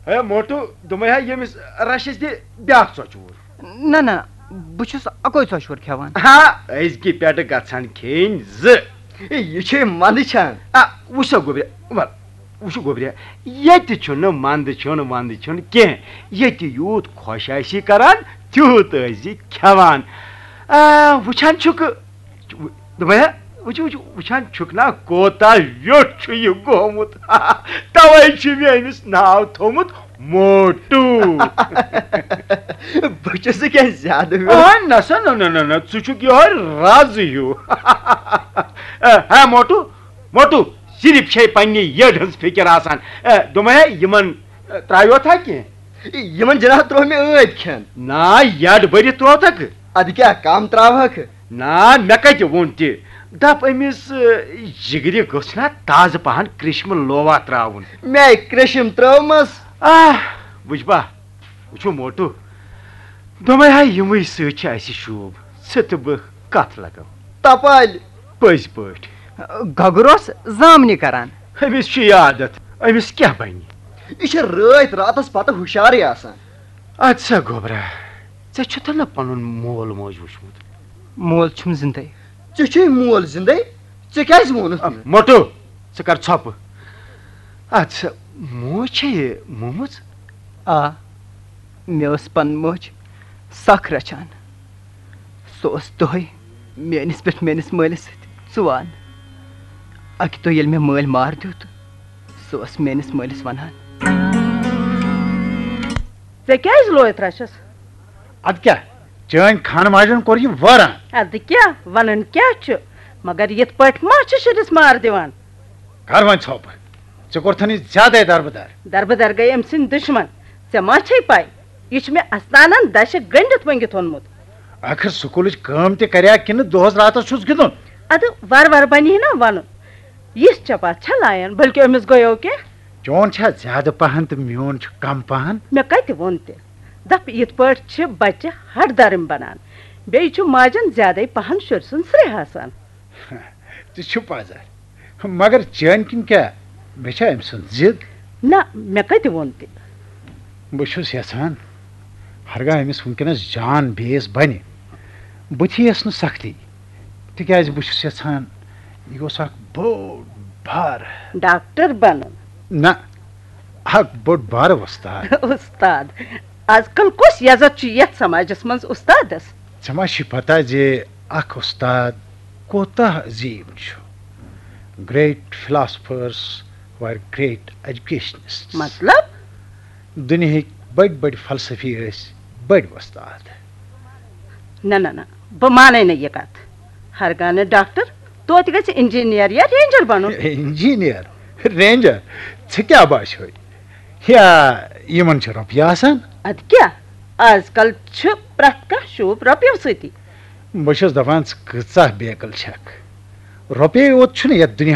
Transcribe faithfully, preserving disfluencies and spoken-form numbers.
ہے motto, دوٚپمَے ہا ییٚمِس رَشَس دِ بیٛاکھ ژۄچہِ ووٚر۔ نہ، نہ، بہٕ چھُس اَکُے ژۄچہِ ووٚر کھٮ۪وان۔ ہا، أزکہِ پٮ۪ٹھٕ گژھن کھیٚنۍ زٕ۔ ہے، یہِ چھے منٛدٕ چھان۔ آ، وٕچھ سا گوٚبریا، وَل، وٕچھ گوٚبریا، ییٚتہِ چھُنہٕ منٛدٕ چھُنہٕ وَنٛدٕ چھُنہٕ کینٛہہ۔ ییٚتہِ یوٗت خۄش آسی کران، تیوٗت ٲسۍ زِ کھٮ۪وان۔ آ، وٕچھان چھُکھ، دوٚپمَے ہا، وٕچھ، وٕچھ، وٕچھان چھُکھ نا کوتاہ ویوٚٹھ چھُ یہِ گوٚمُت۔ تَوَے چھُ مےٚ أمِس ناو تھوٚومُت موٹوٗ۔ بہٕ چھُس نہٕ کینٛہہ زیادٕ ویوٚٹھ۔ آ، نہ سا، نہ، نہ، نہ، نہ، ژٕ چھُکھ یِہوٚے رَز ہیوٗ۔ اے، ہے موٹوٗ، موٹوٗ، صرف چھے پننہِ یٔڈ ہٕنٛز فِکر آسان۔ اے، دوٚپمَے ہا، یِمن، اے، ترٛایوتھا کینٛہہ؟ یِمن جناب ترٛوو مےٚ ٲدۍ کھٮ۪ن۔ نا، یٔڈ بٔرِتھ ترٛووتھکھ؟ اَدٕ کیٛاہ، کم ترٛاوہکھ؟ نا، مےٚ کتہِ ووٚن تہِ؟ دپ أمِس، اے، جگرِ گوٚژھ نا تازٕ پہن کرشمہٕ لووا ترٛاوُن۔ مےٚ کرشم ترٲومٕژ۔ آہ، وٕچھ با، وٕچھو موٹو، دوٚپمَے ہا یِموٕے سۭتۍ چھِ اَسہِ شوٗب۔ ژٕ تہٕ بہٕ کَتھ لَگو۔ تَپٲلۍ۔ پٔزۍ پٲٹھۍ۔ گگُر اوس زامنہِ کران۔ أمِس چھُ یہِ عادت، أمِس کیٛاہ بَنہِ؟ یہِ چھِ رٲتۍ راتَس پَتہٕ ہُشارٕے آسان۔ اَدٕ سا گوٚبرا، ژےٚ چھُتھ نہ پَنُن مول موج وٕچھمُت؟ مول چھُم زِندَے۔ ژےٚ چھُے مول زِندَے؟ ژےٚ کیٛازِ ووٚنُتھ نہٕ؟ موٹو، ژٕ کر ژھۄپہٕ۔ اَدٕ سا، موج چھےٚ یہِ مومٕژ؟ آ، مےٚ ٲس پنٕنۍ موج سخ رچھان۔ سُہ اوس دۄہے میٲنِس پٮ۪ٹھ میٲنِس مٲلِس سۭتۍ ژُوان۔ اَکہِ دۄہ ییٚلہِ مےٚ مٲلۍ مار دیُت، سُہ اوس میٲنِس مٲلِس وَنان۔ ژےٚ کیٛازِ لویَتھ رَچھَس؟ اَدٕ کیٛاہ، چٲنۍ خانہٕ ماجن کوٚر یہِ وٲران۔ اَدٕ کیٛاہ، وَنُن کیٛاہ چھُ؟ مگر یِتھ پٲٹھۍ ما چھِ شُرِس مار دِوان؟ کر وۄنۍ ژھۄپہٕ، ژےٚ کوٚرتھن یہِ زیادَے دربٕدر۔ دربٕدر گٔے أمۍ سٕنٛدۍ دُشمن۔ ژےٚ ما چھے پَے، یہِ چھُ مےٚ اَستانَن دَچھِ گٔنٛڈِتھ مٔنٛگِتھ اوٚنمُت۔ ٲخٕر سکوٗلٕچ کٲم تہِ کریاکھ کِنہٕ دۄہَس راتَس چھُس گِنٛدُن؟ اَدٕ وارٕ وارٕ بَنہِ ہے نا وَنُن۔ یِژھ چھےٚ پَتھ چھےٚ لایان، بٔلکہِ أمِس گٔیو کینٛہہ۔ چون چھا زیادٕ پَہَن تہٕ میون چھُ کَم پَہَن؟ مےٚ کَتہِ ووٚن تہِ؟ دَپ، یِتھ پٲٹھۍ چھِ بَچہِ ہَٹھ دَرٕمۍ بَنان۔ بیٚیہِ چھُ ماجَن زیادَے پَہَن شُرۍ سُنٛد سرٛیٚہہ آسان۔ ژٕ چھُ پَزر۔ مگر چٲنۍ کِنۍ کیٛاہ؟ مےٚ چھا أمۍ سُنٛد ضِد؟ نہ، مےٚ کَتہِ ووٚن تہِ؟ بہٕ چھُس یَژھان، ہرگاہ أمِس وٕنکیٚنَس جان بیس بَنہِ، بہٕ تھیٚیَس نہٕ سختی، تِکیٛازِ بہٕ چھُس یَژھان، یہِ گوٚژھ اَکھ بوٚڑ بار۔ ڈاکٹر بَنُن۔ نہ، اَکھ بوٚڑ بار وۄستاد۔ اُستاد؟ آز کل کُس یزت چھُ یَتھ سماجس منٛز اُستادس؟ ژےٚ ما چھِ پتہ زِ اَکھ اُستاد کوتاہ عظیٖم چھُ؟ Great philosophers were great educationists. مطلب؟ دُنیہٕکۍ بٔڑۍ بٔڑۍ فلسفی ٲسۍ بٔڑۍ وۄستاد۔ نہ، نہ، نہ، بہٕ مانَے نہٕ یہِ کَتھ۔ ہرگاہ نہٕ ڈاکٹر، توتہِ گژھِ انجینئر یا رینجر بنُن۔ انجینئر، رینجر، ژےٚ کیٛاہ باسیوے؟ یا یِمن چھِ رۄپیہِ آسان؟ اَدٕ کیٛاہ، آز کل چھُ پرٛٮ۪تھ کانٛہہ شوٗب رۄپیو سۭتی۔ بہٕ چھُس دَپان، ژٕ کۭژاہ بیقل چھَکھ۔ رۄپیے یوت چھُنہٕ یَتھ دُنیاہَس